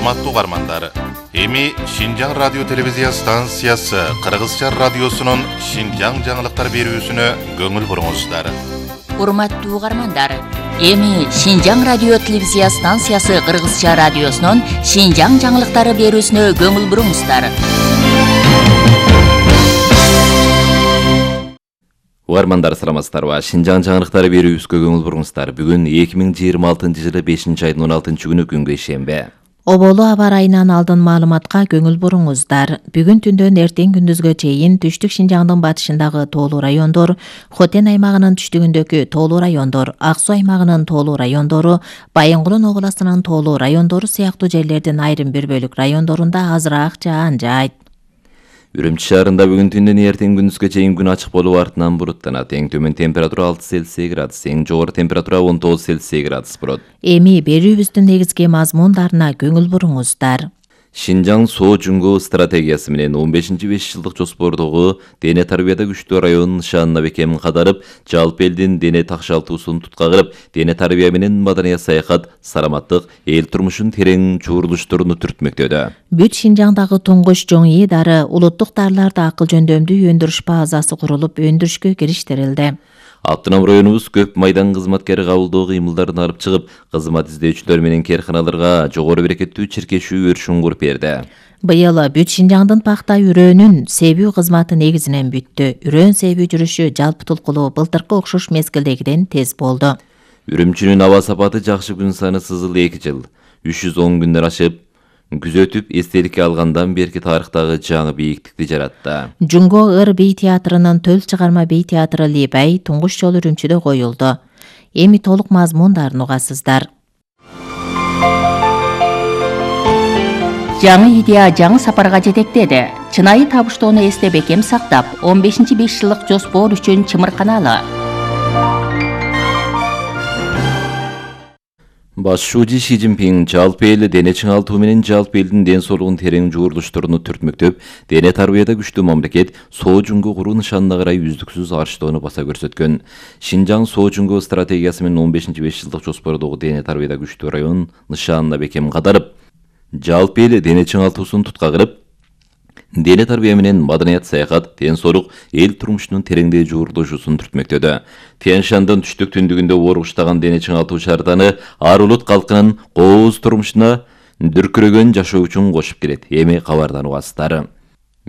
Урматтуу угармандар, эми Шинжаң радио телевизия станциясы Кыргызча радиосунун Шинжаң жаңылыктар берүүсүнө көңүл буруңуздар. Урматтуу угармандар, эми Шинжаң радио телевизия станциясы Кыргызча радиосунун Шинжаң жаңылыктары берүүсүнө көңүл буруңуздар. Угармандар, саламатсыздарбы? Шинжаң жаңылыктары берүүбүзгө көңүл буруңуздар. Бүгүн 2026-жылы 5-айдын 16-күнү күнгө шембе. Оболу аба ырайынан алдын маалыматка көңүл буруңуздар. Бүгүн түндөн эртең күндүзгө чейин түштүк Шинжаңдын батышындагы тоолуу райондор, Хотен аймагынын түштүгүндөгү тоолуу райондор, Ак Суу аймагынын тоолуу райондору, Байынгулун областынын тоолуу райондору сыяктуу жерлердин айрым бир бөлүк райондорунда азыраак жаан жаайт. Үрүмчү шаарында бүгүн түндөн эртең күндүзгө чейин күн ачык болуп артынан буруттанат. Эң төмөн температура 6 Цельсий градус, эң жогору температура 19 Цельсий градус болот. Эми берүүбүздүн негизги мазмундарына көңүл буруңуздар. Шинжаң соо жүнгө стратегиясы менен 15-5 жылдык жоспордогу дене тарбияда күчтүү районун нышанына бекем кадарып, жалпы элдин дене такшалтуусун туткагырып, дене тарбия менен маданият саякат, саламаттык, эл турмушун терең чуурулуштууруну түртмөктөдө. Бүт Шинжаңдагы туңгуч жоң ии дары, улуттук дарыларды акыл жөндөмдүү өндүрүш базасы курулуп, өндүрүшкө кириштирилди. Автоном районубуз көп майдан кызматкери кабылдоо кыймылдарын алып чыгып, кызмат издөөчүлөр менен кээрканаларга жогору берекеттүү чиркешүү өршүн куруп берди. Быйыл бүт Шинжаңдын пахта үрөөнүн себүү кызматы негизинен бүттү. Үрөөн себүү жүрүшү жалпы тулкулуу былтыркы окшош мезгилдегиден тез болду. Үрүмчүнүн аба сапаты жакшы, күн саны сызыл 2 жыл. 310 күндөр ашып, күзөтүп, эстеликке алгандан берки тарыхтагы жаңы бийиктикти жаратты. Жунго ыр бий театрынын төл чыгарма бий театры Либай туңгуч жолу Үрүмчүдө коюлду. Эми толук мазмундарын угасыздар. Жаңы идея жаңы сапарга жетектеди. Чынайы табыштоону эсте бекем сактап, 15-5 жылдык жоспор үчүн чымырканалы. Башчы Ши Цзиньпин жалпы эл дене чыңалтуу менен жалпы элдин ден соолугун терең жуурулуштууруну түртмөктөп, дене тарбияда күчтүү мамлекет соо жүнгө куруу нышанына карай үздүксүз арчтоону баса көрсөткөн. Шинжаң соо жүнгө стратегиясы менен 15-5 жылдык жоспордогу дене тарбияда күчтүү район нышанына бекем кадарып, жалпы эл дене чыңалтуусун туткагырып, дене тарбия менен маданият саякат, ден соолук, эл турмушунун тереңдей жуурулушуусун түртмөктөдө. Тянь-Шандын түштүк түндүгүндө оргуштаган дене чыңалтуу шаарданы ар улут калкынын кооз турмушуна дүркүрөгөн жашоо үчүн кошуп келет. Эми кабардан угасыздар.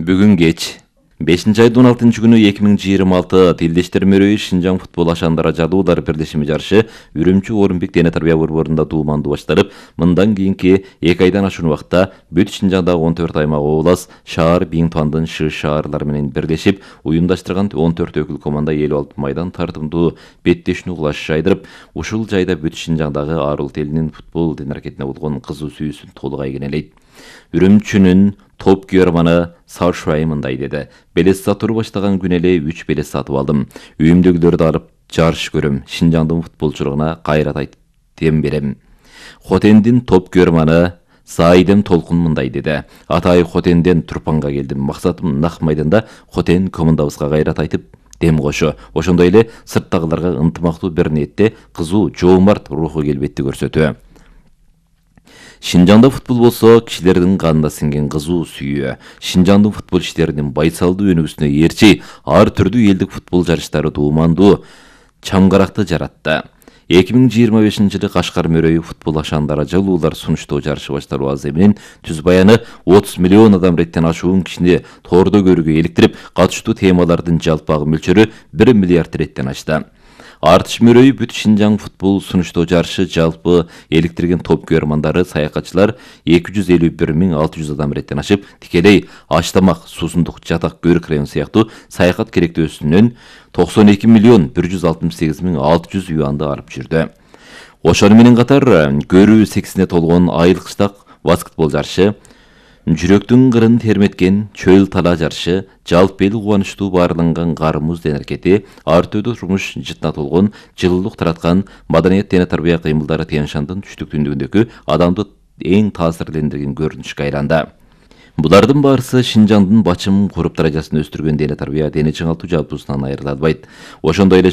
Бүгүн кеч 5-айдын 16-күнү 2026 Тилдештер мөрөйү Шинжаң футбол ашандара жадуулар бирлешими жарышы Үрүмчү Орунбек дене тарбия борборунда дууманды баштырып, мындан кийинки 2 айдан ашуун убакта бүт Шинжаңдагы 14 аймак, облас, шаар, Биңтуандын шыш шаарлары менен бирлешип уюмдаштырган 14 өкүл команда эл алып майдан тартымдуу беттешүүнү кулаш жайдырып, ушул жайда бүт Шинжаңдагы ар улут элинин футбол дене аракетине болгон кызуу сүйүүсүн толук айгинелейт. Үрүмчүнүн топ күйөрманы Саушай мындай деди: "Белес сатууну баштаган күн эле 3 белес сатып алдым. Үйүмдөгүлөрдү алып жарыш көрөм. Шинжаңдын футболчулугуна кайрат айтем берем." Хотендин топ күйөрманы Саидем Толкун мындай деди: "Атай Хотенден Турпанга келдим. Максатым нак майданда Хотен командабызга кайрат айтып дем кошо. Ошондой эле сырттагыларга ынтымактуу бир ниетте кызуу жоомарт руху келбетти көрсөтүү. Шинжаңда футбол болсо кишилердин канына сиңген кызуу сүйүү. Шинжаңдын футбол иштеринин байсалдуу өнүгүүсүнө ээрчи ар түрдүү элдик футбол жарыштары дуумандуу чамгаракты жаратты. 2025-жылы Кашкар мөрөйү футбол ашандара жалуулар сунуштоо жарышы башталуу азы менен түз баяны 30 миллион адам реттен ашуун кишини тордо көрүүгө иликтирип, катыштуу темалардын жалпагы мөлчөрү 1 миллиард реттен ашты. Артыш мөрөйү бүт Шинжаң футбол сунуштоо жарышы жалпы эликтирген топ күйөрмандары, саякатчылар 251.600 адам реттен ашып, тикелей аш-тамак, суусундук, жатак, көрүк район сыяктуу саякат керектөөсүнөн 92.168.600 юанды алып жүрдү. Ошону менен катар көрүү сексине толгон айылкычтак баскетбол жарышы, жүрөктүн кырын терметкен чөл тала жарышы, жалпы эл кубанычтуу баарланган кар муз дене аракети, ар түрдүү турмуш жытына толгон, жылуулук тараткан маданият дене тарбия кыймылдары Тянь-Шандын түштүк түндүгүндөгү адамды эң таасирлендирген көрүнүшкө айланды. Булардын баарысы Шинжаңдын бачым куруп даражасын өстүргөн дене тарбия, дене чыңалтуу жалпысынан айырыла албайт. Ошондой эле